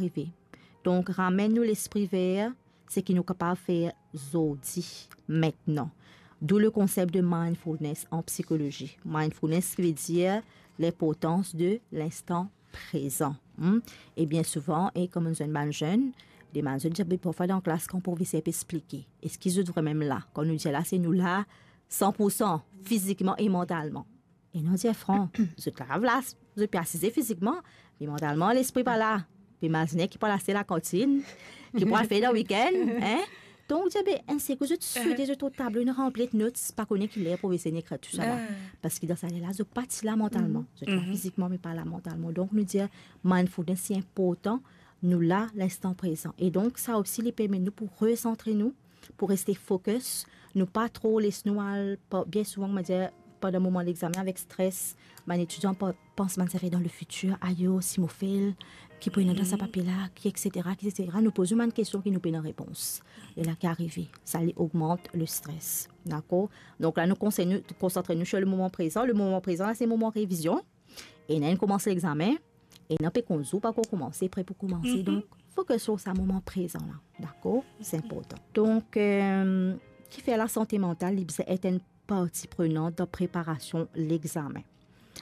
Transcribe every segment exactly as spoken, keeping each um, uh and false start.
rive. Donk, ramenn nou lespri ver seki nou kapav fer zordi, mintnan. D'où le konsep de mindfulness an psikolozi. Mindfulness ki ve dir linportans de linstan prezan. Hmm? E bien souvan, e kouma nou zenn bann zenn, demann zot dir, be parfwa dan klas, kan profeser pe explike, eski zot vremem la? Kan nou dir la, se nou la san pou san, fizikman e mantalman. E nou dir fran, zot la, la, zot pe asize fizikman, me mantalman, lespri pa la. Pe imazine ki pou al aste lakantinn, ki pou al fer dan wikenn, hein? Donk, dir, be, enn sekou, zot swete, zot tablo inn ranpli ek not, pa kone ki ler profeser inn ekrir tousala. Ah. Parski dan sa ler la, zot pa ti la mantalman. Zot la fizikman, me pa la mantalman. Donk, nou dir, mindfulness, se inportan, nou la, linstan prezan. E donk, sa osi, li permet nou pou resantre nou, pou reste focus, nou pa tro les nou al, pa, bien souvan, kouma dir, pandan moman lexamen avek stres, bann etidian pa, pans bann zafer dan lefitir, ayo, si mo fel, ki pou ena dan sa papie la, ki, et cetera, ki, et cetera. Nou poz nou bann kestion ki nou pena repons. E la ki arive, sa li ogmant lestres. Dakor? Donk la, nou konsey nou, konsantre nou sur lemoman prezan. Lemoman prezan la, se moman revizion. Ena inn koumans lexamen, ena pe konz ou pa ankor koumanse, pre pou koumanse. Mhm. Donk, focus sur sa moman prezan la. Dakor? Se inportan. Donk, euh, kifer lasante mantal, li bizin et enn parti prenant dan preparasion lexamen.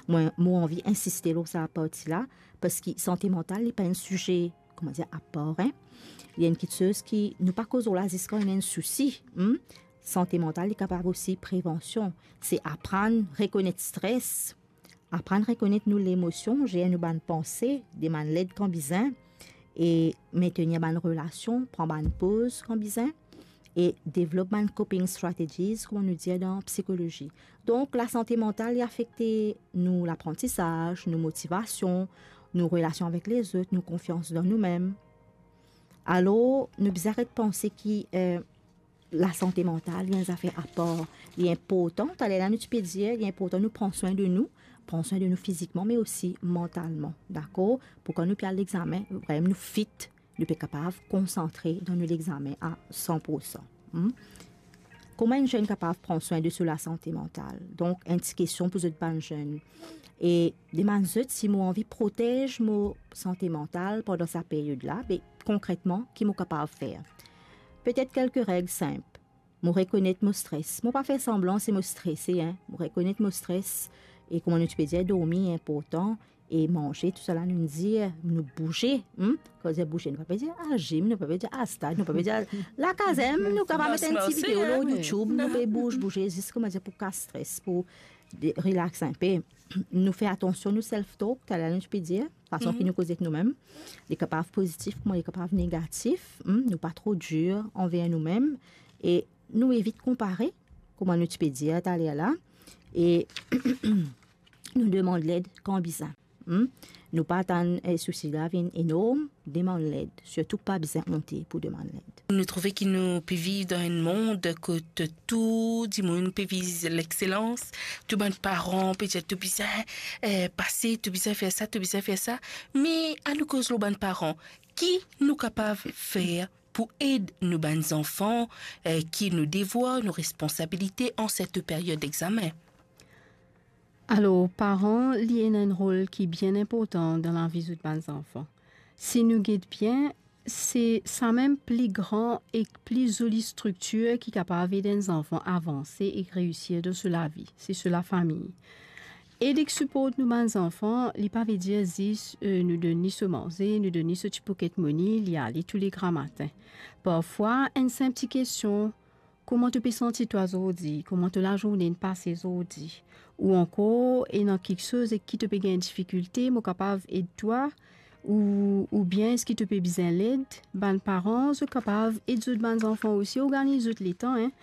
Mwa, mo anvi insiste lor sa parti la, parski sante mantal, li pa enn size, kouma dir, apar, hein. Li enn kiksoz ki nou pa koz lor la ziska nou ena enn sousi, hmm? Sante mantal, li kapav osi prevansion. Se aprann rekonet stres, aprann rekonet nou lemosion, zer nou bann panse, demann led kan bizin, e mentenir bann relasion, pran bann poz kan bizin, e devlop bann coping strategies, kouma nou dir dan psikolozi. Donk, lasante mantal, li afekte nou laprantisaz, nou motivasion, nou relasion avek lezot, nou konfians dan noumem. Alor, nou bizin aret panse ki, eh, lasante mantal, li enn zafer apar. Li inportan, taler la nou ti pe dir, li inportan nou pran swin de nou, pran swin de nou fizikman, me osi mantalman, dakor? Pou kan nou pe al lexamen, vremem nou fit, nou pe kapav konsantre dan nou lexamen a san pou san. Hmm? Kouma enn zenn kapav pran swin de so lasante mantal? Donk, enn ti kestion pou zot bann zenn. E demann zot si mo anvi protez mo sante mantal pandan sa period la, be konkretman, ki mo kapav fer? Petet kelke reg sinp. Mo rekonet mo stres. Mo pa fer sanblan si mo strese, hein. Mo rekonet mo stres. E kouma nou ti pe dir, dormi inportan. E manze, tousala nou dir, nou bouze, hmm? Kan nou dir bouze, nou pa pe dir al zim, nou pa pe dir al stad, nou pa pe dir al lakaz, hein? Nou kapav met enn ti video lor YouTube, nou pe bouz, bouze, zis kouma dir pou kas stres, pou de-, relax inpe. Nou fer atansion nou self-talk, taler nou ti pe dir, fason ki nou koze ek noumem. Li kapav pozitif, kouma li kapav negatif, hmm? Nou pa tro dir anver noumem. E nou evit konpare, kouma nou ti pe dir taler la. E nou demann led kan bizin. Hmm? Nou pa atann, eh, sousi la vinn enorm, demann led. Sirtou pa bizin onte pou demann led. Nou trouve ki nou pe viv dan enn mond kot tou dimoun pe viz lexselans, tou bann paran pe dir to bizin, eh, pase, to bizin fer sa, to bizin fer sa. Me anou koz lor bann paran, ki nou kapav fer pou ed nou bann zanfan, eh, ki nou devwar, nou responsabilite an set period examen? Alor, paran, li ena enn rol ki bien inportan dan lavi zot bann zanfan. Si nou get bien, se samem pli gran ek pli zoli striktir ki kapav ed enn zanfan avanse ek reisir dan so lavi, se so lafami. Ed ek siport nou bann zanfan, li pa ve dir zis, eh, nou donn li so manze, nou donn li so ti pocket money, li ale toule gramatin. Parfwa, enn sinp ti kestion, kouma to pe santi twa zordi? Kouma to lazourne inn pase zordi? Ou ankor, ena kiksoz ek ki to pe gagn difikilte, mo kapav ed twa? Ou, oubien eski to pe bizin led? Bann paran, zot kapav ed zot bann zanfan osi, organiz zot letan, hein.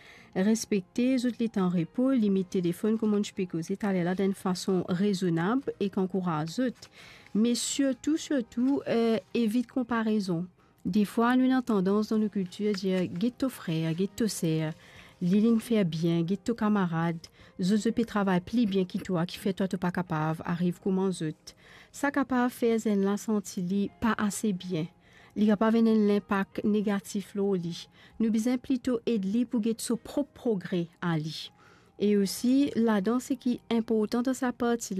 Respekte zot letan repo, limit telefonn, kouma nou ti pe koze taler la, dan enn fason rezonab ek ankouraz zot. Me sirtou, sirtou, eh, evit konparezon. Defwa, nou ena tandans dan nou kiltir dir, get to frer, get to ser, li, li'nn fer bien, get to kamarad, zot, zot pe travay pli bien ki twa, kifer twa to pa kapav ariv kouma zot. Sa kapav fer zenn la santi li pa ase bien. Li kapav ena enn linpak negatif lor li. Nou bizin plito ed li pou get so prop progre a li. E osi, ladan seki inportan dan sa parti la,